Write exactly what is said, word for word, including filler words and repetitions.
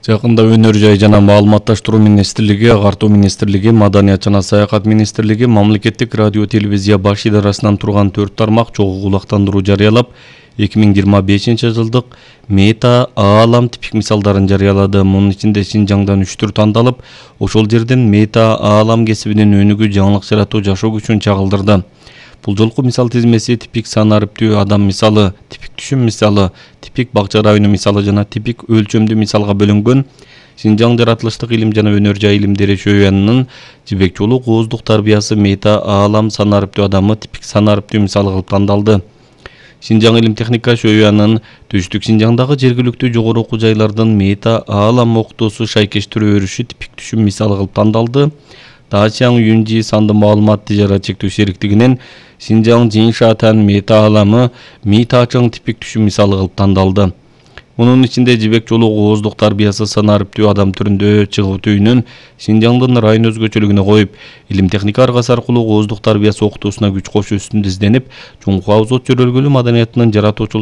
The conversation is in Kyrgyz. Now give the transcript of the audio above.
Жакында өнөр жай жана маалыматташтыруу министрлиги, Агартуу министрлиги, Маданият жана Саякат министрлиги мамлекеттик радио телевизия баш идарасынан турган төрт тармак чогуу кулактандыруу жарыялап, эки миң жыйырма бешинчи жылдык мета аалам типик мисалдарын жарыялады. Мунун ичинде Шинжаңдан үч түр тандалып, ошол жерден мета аалам кесибинин өнүгүү, жаңылык жаратуу, жашоо күчүн чагылдырды. Бул жолку мисал тизмеси типик сан арыптүү адам мисалы, типик түшүм мисалы, типик бакча району мисалы жана типик өлчөмдүү мисалга бөлүнгөн. Шинжаң жаратылыштык илим жана өнөр жай илимдери шөйянынын жибек жолу кооздук тарбиясы мета аалам сан арыптүү адамы типик сан арыптүү мисалы кылып тандалды. Шинжаң илим техника шөйянын түштүк Шинжаңдагы жергиликтүү жогору окуу жайлардын мета аалам окутуусу шайкештирүү өрүшү типик түшүм мисалы кылып тандалды. Дачаң Юнжи санды маалымат тижарат чектөө сериктигинен Шинжаң Жиншатан мета ааламы Митачаң типик түшүм мисалы кылып тандалды. Мунун ичинде жибек жолу кооздук тарбиясы сан арыптүү адам түрүндө чыгуу түйүнүн Шинжаңдын район өзгөчөлүгүнө коюп, илим техника аргасы аркылуу кооздук тарбиясы окутуусуна күч кошуу үстүндө изденип, чоң абзот жөрөлгөлүү маданиятынын жаратуучулук